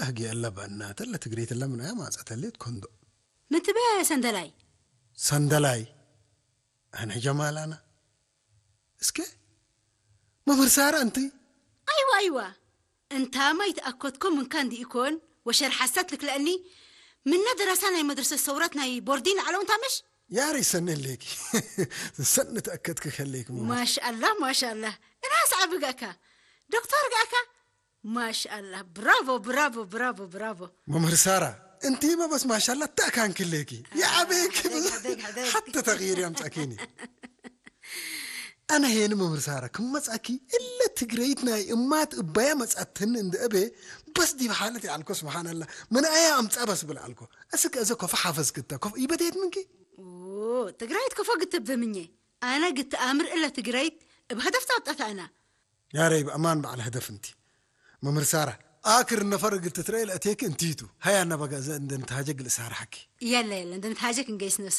ሕጊ የለ በእናተ ለትግሬት ለምናያ ማጸተሌት ኮንዶ ምትበያ ሰንደላይ ሰንደላይ ኣነ ጀማላና እስከ መምህር ሳራ እንቲ ኣይዋ ኣይዋ እንታ ማይ ተኣኮትኮ ምንካ እንዲ ኢኮን ወሸር ሓሳት ልክለእኒ ምና ደራሳ ናይ መድረሰ ሰውራት ናይ ቦርዲን ዓለው እንታ ምሽ ያሪ ሰነሌኪ ሰን ተኣከትክ ከሌክ ማሻአላ ማሻአላ እናስ ዓብጋካ ዶክተር ጋካ ማሻአላ ብራቮ ብራቮ ብራቮ ብራቮ መምህር ሳራ እንቲ መበስ ማሻላ ተካንክሌኪ የዓበየኪ ሕደግ፣ ሕደግ፣ ሕደግ። ሓተ ተغير ያምጻኪኒ ኣነ ሄን መምህር ሳራ ክመጻኪ እለ ትግረይት ናይ እማት እባያ መጻትኒ እንደ እቤ በስ ዲብ ሓለት ያልኮ ስብሓንላ ምን ኣያ ኣምጻ በስ ብል ኣልኮ እስከ እዘ ኮፈ ሓፈዝ ክተ ኮፍ ይበደየት ምንኪ ትግራይት ክፎ ግትብ ብምኘ ኣነ ግትኣምር እለ ትግራይት እብ ሀደፍ ታወጣት ኣና ያረይ ብኣማን በዓል ህደፍ እንቲ መምህር ሳራ ኣክር ነፈር እግል ትትረኤ ለእቴክ እንቲቱ ሃያ ነበጋ እዘ እንደ ንትሃጀ ግል ሳራ ሓኪ የለ የለ እንደ ንትሃጀክ እንገይስ ነሱ